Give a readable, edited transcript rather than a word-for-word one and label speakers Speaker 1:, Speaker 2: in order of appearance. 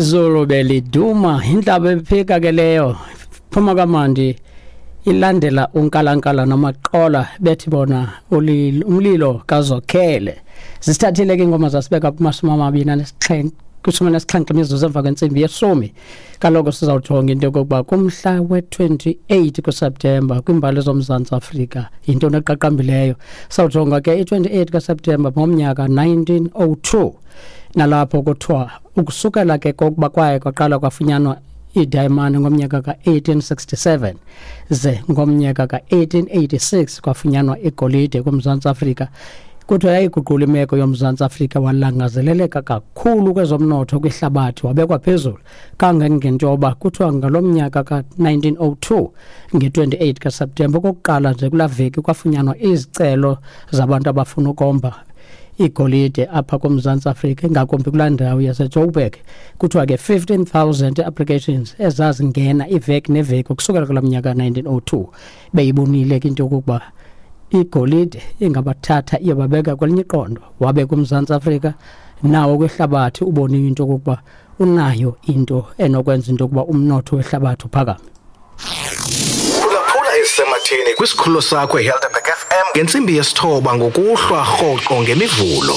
Speaker 1: Izulu beliduma, intlaba ephika ke leyo phuma kamandi ilandela unkalankala nomaqola bethi bona umlilo kazokhele. Zisithathile ke ingoma zasibeka kuma-27 kwi-17 imizuzu emva kwentsimbi yeshumi. Kaloku sizawujonga into yokokuba kumhla we-28 kuSeptemba kwiimbali zoMzantsi Afrika yintoni eqaqambileyo. Sawujonga ke i-28 kaSeptemba ngomnyaka 1902, nalapho kuthiwa ukusukela ke kokuba kwaye kwaqala kwafunyanwa iidayimani ngomnyaka ka-1867 ze ngomnyaka ka-1886 kwafunyanwa igolide kuMzantsi Afrika. Kuthiwa yayiguqula imeko yoMzantsi Afrika, walangazeleleka kakhulu kwezomnotho kwihlabathi, wabekwa phezulu kangangento yoba kuthiwa ngalo mnyaka ka-1902 nge-28 kaSeptemba okokuqala nje kulaa veki kwafunyanwa izicelo zabantu abafuna ukomba igolide apha kuMzantsi Afrika, ingakumbi kulaa ndawo yaseJoburg. Kuthiwa ke 15,000 applications ezazingena iveki neveki ukusukela kulaa mnyaka 1902. Beyibonile ke into yokokuba igolide ingabathatha iyobabeka kwelinye iqondo, wabe kuMzantsi Afrika nawo kwihlabathi ubonile into yokokuba unayo into enokwenza into yokuba umnotho wehlabathi uphakame.
Speaker 2: Phulaphula ezisematheni kwisikhululo sakho iHelderberg FM ngentsimbi yesithoba ngokuhlwa rhoqo ngemivulo.